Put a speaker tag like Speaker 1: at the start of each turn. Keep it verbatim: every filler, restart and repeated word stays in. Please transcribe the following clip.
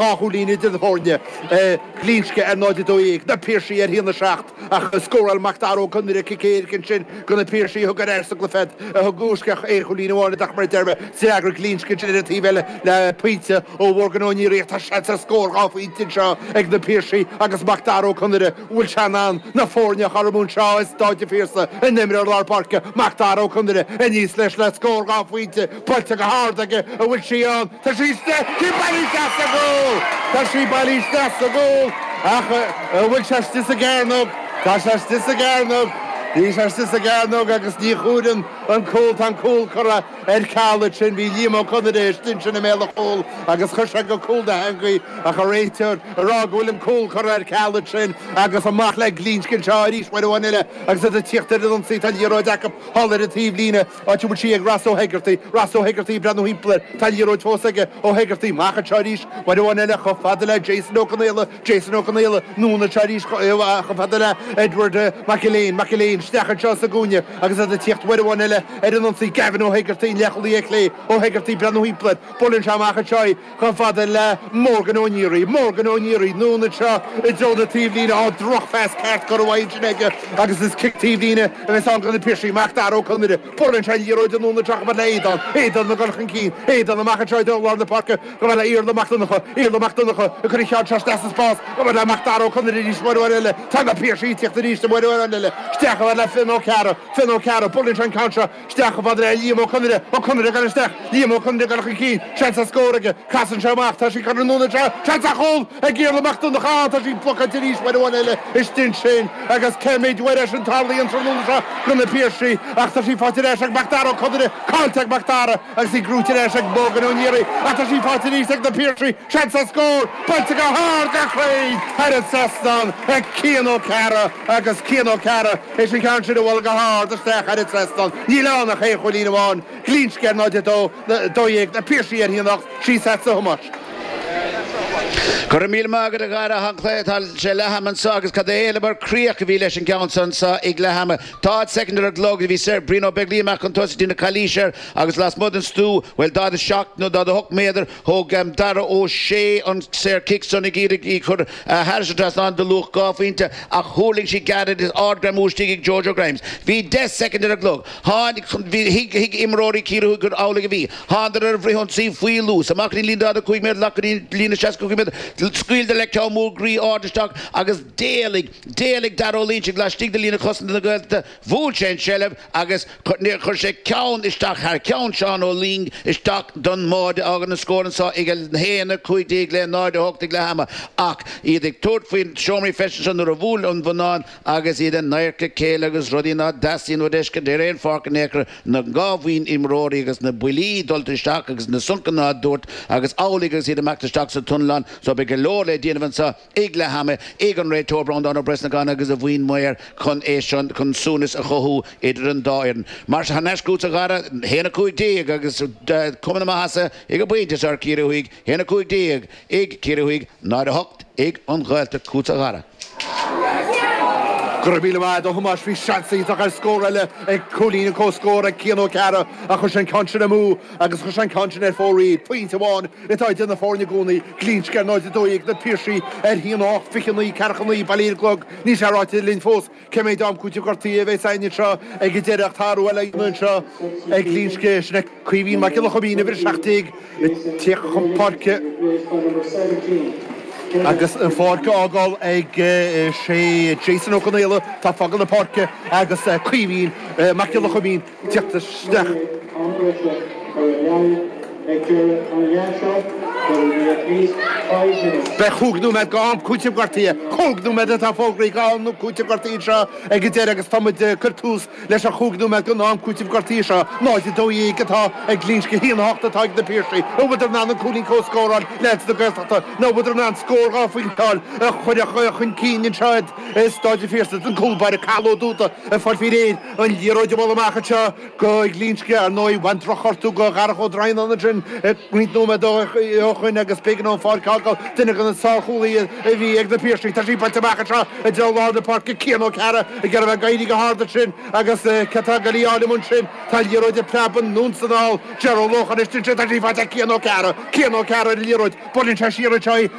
Speaker 1: Dhá chúilín idir na foirne, Glinsce ar náid a dó dhéag, Na Piarsaigh ar a haon a seacht ach scóráil Macdara Ó Conaire cic éirice ansin do na Piarsaigh a thug ar ais sa gcluiche iad, a thug isteach aon chúilín amháin ach mar a deir mé, d'fhreagair Glinsce ansin ar an taobh eile le pointe ó Mhorgan Ó Niaraigh ach tá seans ar scór dhá phointe anseo ag na Piarsaigh agus Macdara Ó Conaire, an bhfuil sé in ann na foirne a chothromú anseo i Stáid an Phiarsaigh, an t-imreoir lár páirce, Macdara Ó Conaire aníos leis le scór dhá phointe, buailte go hard aige, an bhfuil sí ann? Tá sí istigh! Tá sí bailithe isteach sa gcúl! Tá sí bailithe isteach sa gcúl! Ach an bhfuil sé istigh sa gcearnóg? Tá sé istigh sa gcearnóg! Bhí sé istigh sa gcearnóg agus ní chomhaireann an cúl. Tá an cúl curtha ar ceal ansin. Bhí Liam Ó Conaire istigh ansin i mbéal an chúil agus chuir sé go cúl na heangaí ach an réiteoir ag rá go bhfuil an cúl curtha ar ceal ansin agus amach le Glinsce anseo arís uair amháin eile agus iad ag tíocht ar an ionsaí. Tá an liathróid acu thall ar an taobhlíne. Áit a bhfuil sí ag Ross Ó hEigeartaigh, Ross Ó hEigeartaigh ag breathnú thimpeall air. Tá an liathróid fós aige, Ó hEigeartaigh, amach anseo arís, uair amháin eile, chomh fada le Jason Ó Conaola, Jason Ó Conaola, anonn anseo arís chomh fada le Edward McErlean, McErlean, isteach anseo sa gcúinne agus iad ag tíocht uair amháin eile ar an ionsaí, Gavin Ó hEigeartaigh, an leathchúlaí ar chlé, Ó hEigeartaigh ag breathnú thimpeall air, buaileann sé amach anseo í chomh fada le Morgan Ó Niaraigh, Morgan Ó Niaraigh, anonn anseo i dtreo na taobhlíne, á, drochphas ceart curtha uaidh ansin aige agus is cic taobhlíne a bheas ann do na Piarsaigh, Macdara Ó Conaire. Buaileann sé an liathróid anonn anseo chomh fada le Aodán, Aodán ag dul chun cinn, Aodán amach anseo i dtreo lár na páirce chomh fada le Iarla Mac Donncha, Iarla Mac Donncha ag cur an cheann seo isteach sa spás chomh fada le Macdara Ó Conaire arís uair amháin eile, tá na Piarsaigh ag tíocht arís uair amháin eile, isteach chomh fada le Fionn Ó Cearra, Fionn Ó Cearra, buaileann sé an ceann seo isteach chomh fada le Liam Ó Conaire, Ó Conaire ag dul isteach, Liam Ó Conaire ag dul chun cinn, seans ar scór aige, casann sé amach, tá sí curtha anonn anseo, seans ar chúl ag Iarla Mac Donncha, tá sí blocáilte arís uair amháin eile istigh ansin agus cé mhéad uair é sin tarlaíonn tráthnóna seo do na Piarsaigh ach tá sí faighte ar ais ag Macdara Ó Conaire, caillte ag Macdara agus í gnóite ar ais ag Morgan Ó Niaraigh ach tá sí faighte arís ag na Piarsaigh, seans ar scór, buailte go hard go cruinn thar an trasnán ag Cian Ó Cearra agus Cian Ó Cearra théis an ceann sin a bhualadh go hard isteach thar an trasnán. Níl ann ach aon chúilín amháin, Glinsce ar náid a dó, dó dhéag, na Piarsaigh ar a haon a hocht, síos agatsa a Thomáis.
Speaker 2: Go raibh míle maith agat a Dhara, tá an cluiche, tá sé leath ama anseo agus cad é eile mar críoch a bhí leis an gceann seo anseo ag leath ama. Tá soicind ar an gclog, bhí Sir Brian Ó Beaglaoich amach chun tosaigh déanamh calaois air agus lasmuigh den stua, bhuel daichead a seacht nó daichead a hocht méadar, thóg Dara Ó Sé an saor cic san ag iarraidh í chur thairis an trasnán de luach dhá phointe ach thuirling sí gairid is ardghreamú istigh ag Jojo Grimes. Bhí deich soicind ar an gclog. Tháinig, bhí, thuig, thuig imreoirí Chiarraí Thuaidh gur amhlaidh a bhí. Thánadar ar an bhfrithionsaí faoi luas, amach go dtí an líne daichead a cúig méadar, go dtí an líne seasca cúig méadar, scaoileadar le ceann mór groí ard isteach agus d'éalaigh, d'éalaigh Dara Ó Loingsigh laistigh de líne chosanta na Gaeltachta, bhuail sé an tseilbh agus chuir sé ceann isteach thar ceann Seán Ó Luing isteach don mbáide a fhágann an scór anseo ag a haon a cúig déag le náid a hocht ag leath ama ach iad ag tabhairt faoin seomraí feistis anseo nuair a bhuail an bonnán agus iad in adharca a chéile agus rudaí ná dteastaíonn uait a fheiscint ar aon pháirc in aon chor, na dhá bhuíon imreoirí agus na buillí dulta isteach agus na soncanna á dtabhairt agus amhlaidh agus iad ag imeacht isteach sa túnalán so beidh go leor le déanamh anseo ag leath ama ag an réiteoir Breandán Ó Brosnacháin agus a bhuíon maor chun é seo chun suaimhneas a chothú idir an dá fhoireann. Mar sin thar n-ais chugatsa a Dhara, haon a cúig déag agus cuma na maitheasa ag an bpointe seo ar Ciarraí Thuaidh, haon a cúig déag ag Ciarraí Thuaidh, náid a hocht ag an Ghaeltacht chugatsa a Dhara.
Speaker 1: Go raibh míle maith agat a Thomáis. Bhí seans iontach ar scór eile ag cúilín an comhscór ag Cian Ó Cearra ach chuir sé an ceann sin amú agus chuir sé an ceann sin ar fóraoil. Pointe amháin atá idir na foirne i gcónaí. Glinsce ar náid a dó dhéag, Na Piarsaigh ar haon a hocht, fiche a naoi, ceathracha a naoi, bailithe ar an gclog. Níl sé ráite linn fós cé méid am cúitimh gortaithe a bheas againn anseo ag an deireadh ach tá athrú eile á dhéanamh anseo ag Glinsce. Sin é Caoimhín Mac Giolla Choimín, uimhir a seacht déag, ag tíocht chun páirce agus an pháirc á fhágáil ag sé Jason Ó Conaola atá ag fágáil na páirce agus Caoimhín Mac Giolla Choimín ag tíocht isteach. Beidh chúig nóiméad d'am cúitimh gortaithe, cúig nóiméad atá fógraithe d'am cúitimh gortaithe anseo ag an deireadh agus tá muid ag cur tús leis an chúig nóiméad den am cúitimh gortaithe seo, náid a dó dhéag atá ag Glinsce, a haon a hocht atá ag na Piarsaigh. An bhfuileadar in ann an cúilín comhscóir a fháil leaids na Gaeltachta nó an bhfuileadar in ann scór dhá phointe a fháil a chuirfeadh chun cinn anseo iad i Stáid an Phiarsaigh? An cúl báire Cathal Ó Dúda ag fáil faoi réir an liathróid a bhualadh amach anseo go Glinsce. Ar ndóigh, bhain drochghortú go Dharach Ó Droighneáin ansin roinnt nóiméad ó Lócháin agus b'éigean an pháirc a fhágáil duine de na sárchúlaithe a bhí ag na Piarsaigh. Tá sí buailte amach anseo i dtreo lár na páirce Cian Ó Cearra ag iarraidh bheith ag éirí go hard ansin agus cé atá ag dul í a fháil amuigh ansin tá an liathróid ag preabadh anonn is anall Ger Ó Lócháin ansin tá sí faighte ag Cian Ó Cearra Cian Ó Cearra ar an liathróid buaileann sé siar anseo í